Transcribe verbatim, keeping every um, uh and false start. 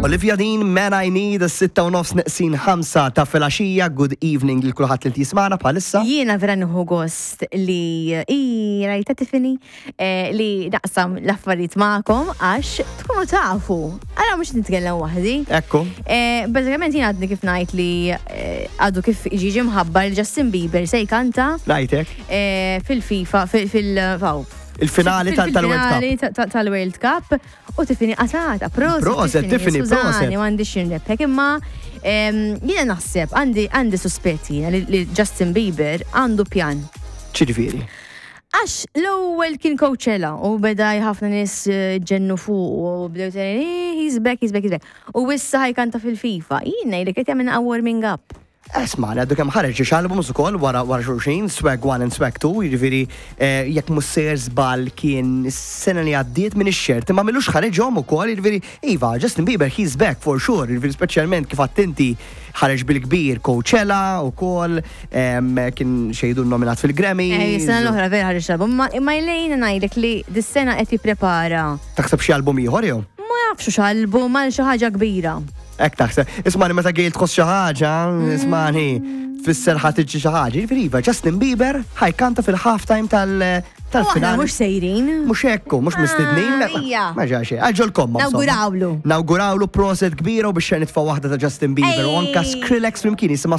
Olivia Dean, Man I Need, sitta u nofs neqsin ħamsa ta' filgħaxija. Good evening lil kulħadd li jismagħna bħalissa. Jiena vera nieħu gost li i rajta Tiffany eh, li naqsam l-affarijiet magħkom għax tkunu tafu. Għala mhux nitkellem waħdi. Ekku. Eh, Bażikament jien għadni kif ngħid li eh, għadu kif ġie mħabbar li Justin Bieber se jkanta Rajtek. eh, fil-FIFA, fil- fil- faw. Il-finali tal- tal-World Cup. Fil-finali ta- ta- tal-World Cup u Tiffany qatata, proset. Proset, Tiffany, skużani, proset. m'għandix nrebbħek, imma em, jiena naħseb għandi għandi suspetti jiena li li Justin Bieber għandu pjan. Ċiġifieri. Għax l-ewwel kien Coachella u beda ħafna nies eh, ġennu fuq u bdew tgħid, "Eh, he's back, he's back, he's back." U issa ħa jkanta fil-FIFA. Jien ngħidlek qed jagħmel warming up. Isma, għaddu kemm ħareġ xi albums ukoll wara wara xulxin, Swag one and Swag two, jiġifieri eh, jekk mhux sejjer żball kien is-sena li għaddiet minn ix-xert, imma m'ilux ħareġhom ukoll, jiġifieri iva, Justin Bieber, he's back for sure, jiġifieri speċjalment kif attenti ħareġ bil-kbir Coachella ukoll, em, kien xejdu nominat fil-Grammy. Eh, Sena l-oħra vera ħareġ album, ma imma jlejna ngħidlek li dis-sena qed jipprepara. Taħseb xi album ieħor jew? Ma nafx x'album għal xi ħaġa kbira. Ek taħseb. Ismani, meta Gail tħoss xi ħaġa, ismani, tfisser ħa tiġi xi ħaġa. Jiġifieri iva, Justin Bieber ħa jkanta fil-halftime tal U aħna tal-finali. mhux sejrin. Mhux ekku, mhux mistednin. Ah, ija. Ma ġa xejn. Għaġolkom. Nawgurawlu. Nawgurawlu, proset kbira u biex nitfa' waħda ta' Justin Bieber u anka Ej. Skrillex flimkien jisimha.